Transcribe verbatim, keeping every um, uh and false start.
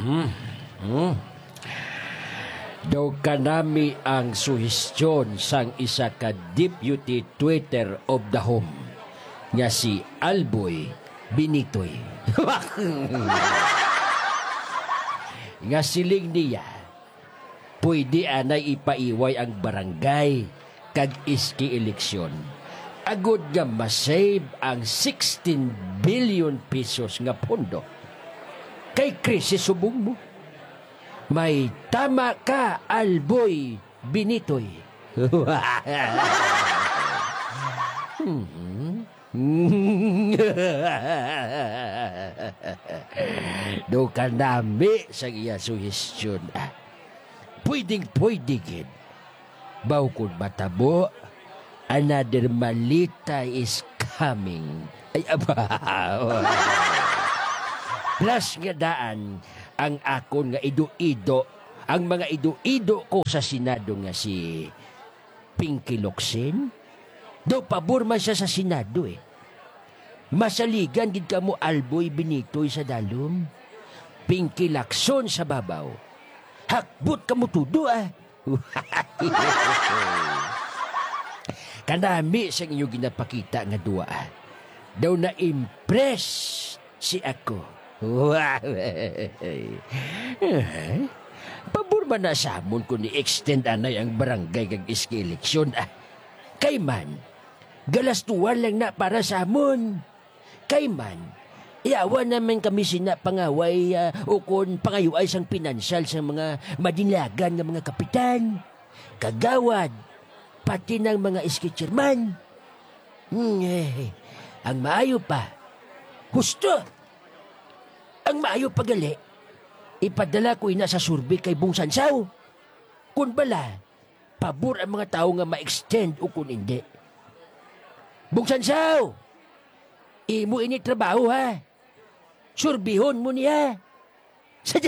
Hmm. Hmm. Daw kanami ang suhestyon sang isa ka deputy tweeter of the home nga si Alboy Benitoy. Nga siling niya, pwede anay ipaiway ang barangay kag S K eleksyon agod nga masave ang sixteen billion pesos nga pondo. Kay krisis subong mo. May tama ka, Alboy Benitoy. Mhm. Do ka nami sa iya suhestyon, ah. Pwedeng-pwede gid. Baw kon matabo, another Malita is coming. Ay, aba. Plus nga daan ang akon nga ido-ido, ang mga ido-ido ko sa Senado nga si Pinky Locsin. Daw pabor man siya sa Senado, eh. Masaligan gid kamo, Alboy Benitoy sa dalom, Pinky Lacson sa babaw. Hakbot kamo tudo, ah. Kanami sang inyo ginapakita nga duwa, ah. Daw na-impress si ako. Eh, pabor man na sa amon kung i-extend anay ang barangay kag S K eleksyon, ah. Kay man, galastuhan lang na para sa amon. Kay man, yawa naman kami sina pangaway, ah, ukon pangayuay sang pinansyal sang mga madinagan nga mga kapitan, kagawad, pati ng mga S K chairman. Hmm, eh, ang maayo pa, husto. Ang maayo pa gali, ipadala ko ina sa survey kay Bong Sansaw. Kun bala, pabor ang mga tawo nga ma-extend o kun indi. Bong Sansaw, imo ini trabaho, ha? Surbihon mo niya. Sa